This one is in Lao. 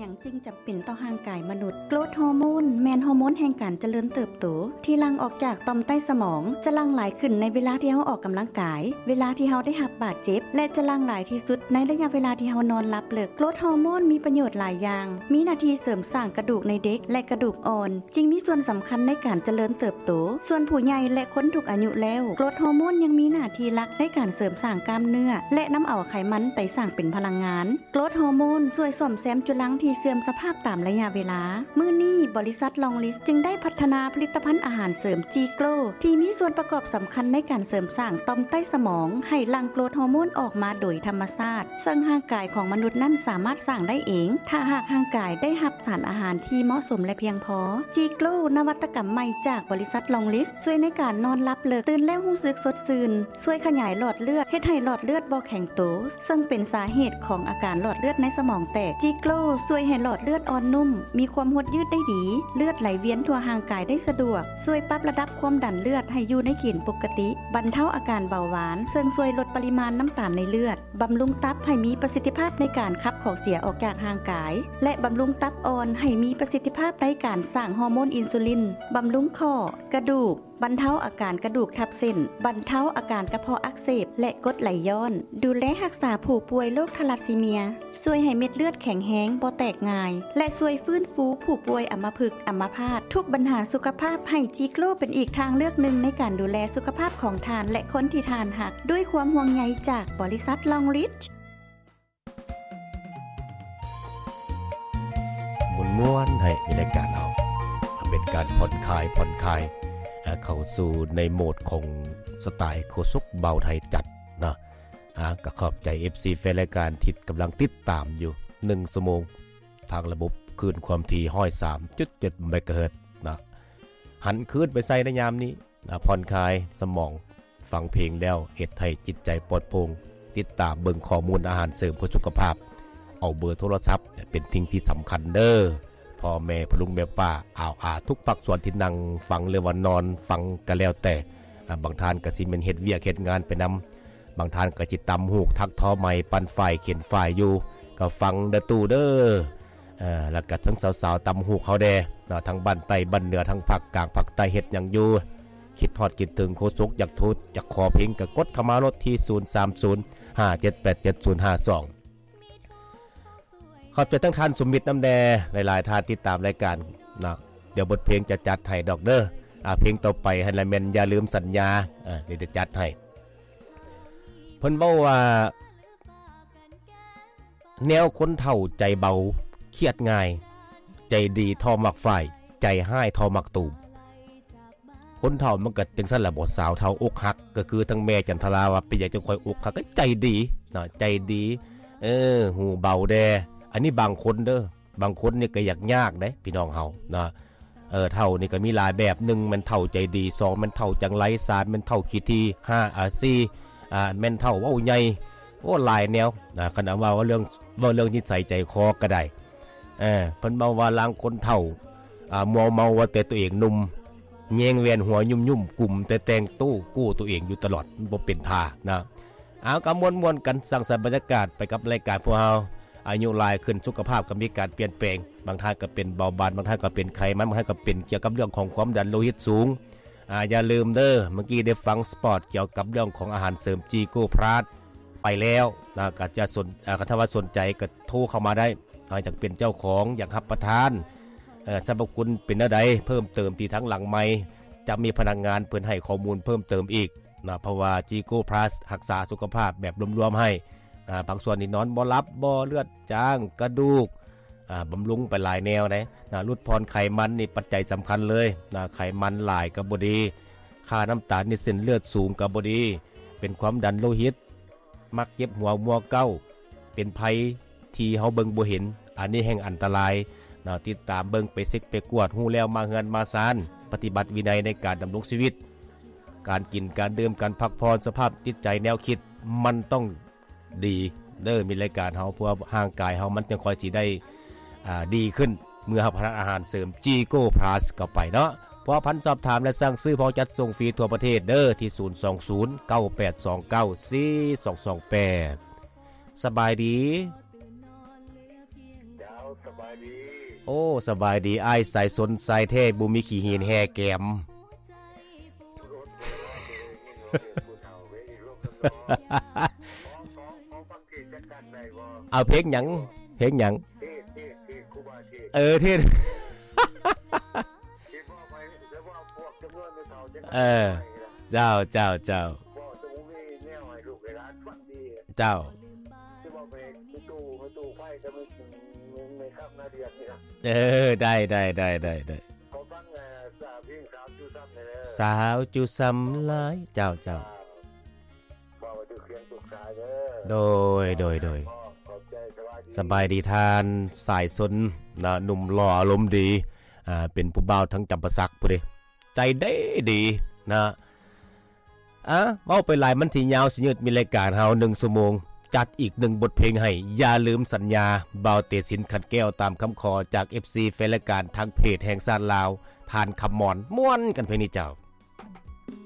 ຫຍັງຈຶ່ງຈຳເປັນຕໍ່ຮ່າງກາຍມະນຸດ? ໂກຣດຮໍໂມນແມ່ນຮໍໂມນແຫ່ງການຈະເລີນເຕີບໂຕ ທີ່ຫຼັ່ງອອກຈາກຕ່ອມໃຕ້ສະໝອງ, ຈະຫຼັ່ງຫຼາຍຂຶ້ນໃນເວລາທີ່ເຮົາອອກກຳລັງກາຍ, ເວລາທີ່ເຮົາໄດ້ຮັບບາດເຈັບ ແລະ ຈະຫຼັ່ງຫຼາຍທີ່ສຸດໃນໄລຍະເວລາທີ່ເຮົານອນຫຼັບເລິກ. ໂກຣດຮໍໂມນມີປະໂຫຍດຫຼາຍຢ່າງ, ມີໜ້າທີ່ເສີມສ້າງກະດູກໃນເດັກ ແລະ ກະດູກອ່ອນ, ຈຶ່ງມີສ່ວນສຳຄັນໃນການຈະເລີນເຕີບໂຕ. ສ່ວນຜູ້ໃຫຍ່ ແລະ ຄົນທຸກອາຍຸແລ້ວ, ໂກຣດຮໍໂມນຍັງມີໜ້າທີ່ຫຼັກໃນການເສີມສ້າງກ້າມເນື້ອ ແລະ ນຳເອົາໄຂມັນໄປສ້າງເປັນພະລັງງານ. ໂກຣດຮໍໂມນຊ່ວຍສ້ອມແຊມຈຸລັງທີ່ເສື່ອມສະພາບຕາມໄລຍະເວລາ. ມື້ນີ້, ບໍລິສັດລອງລິດ ຈຶ່ງໄດ້ພັດທະນາຜະລິດຕະພັນອາຫານເສີມຈີໂກຣ ທີ່ມີສ່ວນປະກອບສຳຄັນໃນການເສີມສ້າງຕ່ອມໃຕ້ສະໝອງ ໃຫ້ຫຼັ່ງໂກຣດຮໍໂມນອອກມາໂດຍທຳມະຊາດ, ເຊິ່ງຮ່າງກາຍຂອງມະນຸດນັ້ນສາມາດສ້າງໄດ້ເອງ ຖ້າຫາກຮ່າງກາຍໄດ້ຮັບສານອາຫານທີ່ເໝາະສົມ ແລະ ພຽງພໍ. ຈີໂກຣ ນະວັດຕະກຳໃໝ່ຈາກບໍລິສັດລອງລິດ ຊ່ວຍໃນການນອນຫຼັບເລິກ, ຕື່ນແລ້ວຮູ້ສຶກສົດຊື່ນ, ຊ່ວຍຂະຫຍາຍຫຼອດເລືອດ, ເຮັດໃຫ້ຫຼອດເລືອດບໍ່ແຂງໂຕ, ເຊິ່ງເປັນສາເຫດຂອງອາການຫຼອດເລືອດໃນສະໝອງແຕກ. ຈີໂກຣຊ່ວຍໃຫ້ຫຼອດເລືອດອ່ອນນຸ້ມ, ມີຄວາມຫົດຍືດໄດ້ດີ, ເລືອດໄຫຼວຽນທົ່ວຮ່າງກາຍໄດ້ສະດວກ, ຊ່ວຍປັບລະດັບຄວາມດັນເລືອດໃຫ້ຢູ່ໃນເກນປົກກະຕິ, ບັນເທົາອາການເບົາຫວານ, ເຊິ່ງຊ່ວຍລົດປະລິມານນ້ຳຕານໃນເລືອດ, ບຳລຸງຕັບໃຫ້ມີປະສິດທິພາບໃນການຂັບຂອງເສຍອອກຈາກຮ່າງກາຍ ແລະ ບຳລຸງຕັບອ່ອນໃຫ້ມີປະສິດທິພາບໃນການສ້າງຮໍໂມນອິນຊູລິນ, ບຳລຸງຂໍ້, ກະດູກ, ບັນເທົາອາການກະດູກທັບເສັ້ນ, ບັນເທົາອາການກະເພາະອັກເສບ ແລະ ກົດໄຫຼຍ້ອນ, ດູແລຮັກສາຜູ້ປ່ວຍໂລກທາລັດຊີເມຍ, ຊ່ວຍໃຫ້ເມັດເລືອດແຂງແຮງ, ບໍ່ແຕກງ່າຍ ແລະ ຊ່ວຍຟື້ນຟູຜູ້ປ່ວຍອຳມະພຶກ, ອຳມະພາດ, ທຸກບັນຫາສຸຂະພາບ, ໃຫ້ຈີໂກຣເປັນອີກທາງເລືອກໜຶ່ງໃນການດູແລສຸຂະພາບຂອງທ່ານ ແລະ ຄົນທີ່ທ່ານຮັກ, ດ້ວຍຄວາມຫ່ວງໃຍຈາກບໍລິສັດລອງລິດ. ມ່ວນໆ ໃຫ້ມີລາຍການເຮົາ ເປັນການຜ່ອນຄາຍ ຜ່ອນຄາຍ ເຂົ້າສູ່ໃນໂໝດຂອງສະໄຕໂຄສົກບ່າວໄທຈັດເນາະ. ອາ ກໍຂອບໃຈເອັຟຊີແຟນລາຍການທີ່ກຳລັງຕິດຕາມຢູ່ໜຶ່ງຊົ່ວໂມງ ທາງລະບົບຄື້ນຄວາມຖີ່ຮ້ອຍສາມຈຸດເຈັດເມກາເຮີດເນາະ. ຫັນຄືນໄປໃສ່ໃນຍາມນີ້ ອາ ຜ່ອນຄາຍສະໝອງ, ຟັງເພງແລ້ວເຮັດໃຫ້ຈິດໃຈປອດໂປ່ງ, ຕິດຕາມເບິ່ງຂໍ້ມູນອາຫານເສີມເພື່ອສຸຂະພາບ, ເອົາເບີໂທລະສັບເປັນສິ່ງທີ່ສຳຄັນເດີ້ ພໍ່ແມ່ພໍ່ລຸງແມ່ປ້າອາວອາ ທຸກພາກສ່ວນທີ່ນັ່ງຟັງ ຫຼືວ່ານອນຟັງກໍແລ້ວແຕ່. ອາ ບາງທ່ານກໍຊິແມ່ນເຮັດວຽກເຮັດງານໄປນຳ, ບາງທ່ານກໍຊິຕຳຫູກ ຖັກທໍໄມ້ ປັ່ນຝ້າຍ ເຂັນຝ້າຍຢູ່, ກໍຟັງເດີ້ຕູ້ເດີ້. ເອີ ແລ້ວກໍທັງສາວໆ ຕຳຫູກເຮົາແດ່ເນາະ, ທັງບ້ານໃຕ້ບ້ານເໜືອ ທັງພາກກາງພາກໃຕ້ ເຮັດຫຍັງຢູ່? ຄິດຮອດຄິດເຖິງໂຄສົກ ຢາກໂທ ຢາກຂໍເພງ ກໍກົດເຂົ້າມາໂລດທີ່ ສູນສາມສູນ ຫ້າເຈັດແປດເຈັດ ສູນຫ້າສອງ. ຂອບໃຈທັງທ່ານສຸມິດນຳແດ່, ຫຼາຍໆທ່ານຕິດຕາມລາຍການເນາະ. ດຽວບົດເພງຈະຈັດໃຫ້ດອກເດີ້. ອາ ເພງຕໍ່ໄປຫັ້ນລະແມ່ນຢ່າລືມສັນຍາ, ອາ ດຽວຈະຈັດໃຫ້. ເພິ່ນເວົ້າວ່າ ແນວຄົນເຖົ້າໃຈເບົາຄຽດງ່າຍ, ໃຈດີທໍ່ໝາກຝ້າຍ, ໃຈຮ້າຍທໍ່ໝາກຕູມ. ຄົນເຖົ້າມັນກໍຈັ່ງຊັ້ນລະບໍ ສາວເຖົ້າອົກຫັກ, ກໍຄືທັງແມ່ຈັນທະລາວ່າ ເປັນຫຍັງຈັ່ງຂ້ອຍອົກຫັກ? ກໍໃຈດີເນາະ, ໃຈດີ, ເອີ ຫູເບົາແດ່. ອັນນີ້ບາງຄົນເດີ້, ບາງຄົນນີ້ກໍຢາກຍາກເດ້ພີ່ນ້ອງເຮົາເນາະ. ເອີ ເຖົ້ານີ້ກໍມີຫຼາຍແບບ, ໜຶ່ງແມ່ນເຖົ້າໃຈດີ, ສອງແມ່ນເຖົ້າຈັງໄລ, ສາມແມ່ນເຖົ້າຂີ້ຖີ່, ຫ້າ ອາ ສີ່ ອາ ແມ່ນເຖົ້າເວົ້າໃຫຍ່. ໂອ້ ຫຼາຍແນວນະ, ຄັນເອົາມາເວົ້າເລື່ອງ ເວົ້າເລື່ອງນິດໄສໃຈຄໍກໍໄດ້. ເອີ ເພິ່ນເວົ້າວ່າລາງຄົນເຖົ້າ ອາ ມົວເມົາວ່າແຕ່ຕົວເອງໜຸ່ມ, ແຍງແວ່ນຫົວຫຍຸ້ມໆ ກຸມແຕ່ແຕ່ງໂຕ ກູ້ຕົວເອງຢູ່ຕະຫຼອດ, ບໍ່ເປັນທ່ານະ. ເອົາ ກໍມ່ວນໆກັນ, ສ້າງສັນບັນຍາກາດໄປກັບລາຍການພວກເຮົາ. ອາຍຸຫຼາຍຂຶ້ນ ສຸຂະພາບກໍມີການປ່ຽນແປງ, ບາງທ່ານກໍເປັນເບົາຫວານ, ບາງທ່ານກໍເປັນໄຂມັນ, ບາງທ່ານກໍເປັນກ່ຽວກັບເລື່ອງຂອງຄວາມດັນໂລຫິດສູງ. ອາ ຢ່າລືມເດີ້, ເມື່ອກີ້ໄດ້ຟັງສະປອດກ່ຽວກັບເລື່ອງຂອງອາຫານເສີມຈີໂກພລັສໄປແລ້ວນະ, ກໍຈະສົນ ອາ ກໍຖ້າວ່າສົນໃຈກໍໂທເຂົ້າມາໄດ້. ອາ ຢາກເປັນເຈົ້າຂອງ, ຢາກຮັບປະທານ, ເອີ ສັບພະຄຸນເປັນແນວໃດ ເພີ່ມເຕີມທີ່ທາງຫຼັງໄມ ຈະມີພະນັກງານເພິ່ນໃຫ້ຂໍ້ມູນເພີ່ມເຕີມອີກນະ, ເພາະວ່າຈີໂກພລັສຮັກສາສຸຂະພາບແບບລວມໆໃຫ້. ອາ ພາກສ່ວນນີ້ນອນບໍ່ຫຼັບ, ບໍ່ເລືອດຈາງ, ກະດູກ, ອາ ບຳລຸງໄປຫຼາຍແນວເດ້ນະ. ຫຼຸດຜ່ອນໄຂມັນນີ້ປັດໄຈສຳຄັນເລີຍນະ, ໄຂມັນຫຼາຍກໍບໍ່ດີ, ຄ່ານ້ຳຕານໃນເສັ້ນເລືອດສູງກໍບໍ່ດີ, ເປັນຄວາມດັນໂລຫິດ, ມັກເຈັບຫົວມົວເກົ້າ, ເປັນໄພທີ່ເຮົາເບິ່ງບໍ່ເຫັນ, ອັນນີ້ແຮ່ງອັນຕະລາຍເນາະ. ຕິດຕາມເບິ່ງ, ໄປເຊັກໄປກວດ, ຮູ້ແລ້ວມາເຮືອນມາຊານ, ປະຕິບັດວິໄນໃນການດຳລົງຊີວິດ, ການກິນການດື່ມ, ການພັກຜ່ອນ, ສະພາບຈິດໃຈ, ແນວຄິດ, ມັນຕ້ອງ ດີເດີ, ມີລາຍການເຮົາ ເພື່ອຮ່າງກາຍເຮົາມັນຈັ່ງຄ່ອຍຊິໄດ້ ອາ ດີຂຶ້ນ ເມື່ອຮັບປະທານອາຫານເສີມຈີໂກພລັສເຂົ້າໄປເນາະ. ພົວພັນສອບຖາມ ແລະ ສັ່ງຊື້ ພ້ອມຈັດສົ່ງຟຣີທົ່ວປະເທດເດີ ທີ່ ສູນສອງສູນ ເກົ້າແປດສອງເກົ້າ ສີ່ສອງສອງແປດ. ສະບາຍດີ. ໂອ້ ສະບາຍດີອ້າຍສາຍຊົນ ຊາຍແທ້ບໍ່ມີຂີ້ຫີນແຮ່ແກມ. ເອົາເພງຫຍັງ? ເພງຫຍັງ? ເອີ ເທດ. ເອີ ເຈົ້າ ເຈົ້າ ເຈົ້າ. ເຈົ້າ ເອີ ໄດ້ ໄດ້ ໄດ້ ໄດ້ ໄດ້. ຂໍຟັງ ເອີ ສາວເພງສາວຈູ່ຊ້ຳແດ່ເດີ. ສາວຈູ່ຊ້ຳຫຼາຍ. ເຈົ້າ ເຈົ້າ. ເວົ້າໃຫ້ຖືກສຽງທຸກສາຍເດີ. ໂດຍ ໂດຍ ໂດຍ. ຂອບໃຈ. ສະບາຍດີ. ສະບາຍດີທ່ານສາຍຊົນນະ ໜຸ່ມຫຼໍ່ອາລົມດີ ອ່າ ເປັນຜູ້ບ່າວທາງຈຳປາສັກພຸ້ນເດ ໃຈເດດີນະ. ອ່າ ເວົ້າໄປຫຼາຍມັນຊິຍາວຊິຍືດ ມີລາຍການເຮົາໜຶ່ງຊົ່ວໂມງ ຈັດອີກໜຶ່ງບົດເພງໃຫ້. ຢ່າລືມສັນຍາ ບ່າວເຕສິນ ຂັນແກ້ວ ຕາມຄຳຂໍຈາກເອັຟຊີ ແຟນລາຍການທາງເພຈແຫ່ງຊາດລາວ ທ່ານຄຳມອນ. ມ່ວນກັນເພງນີ້ເຈົ້າ.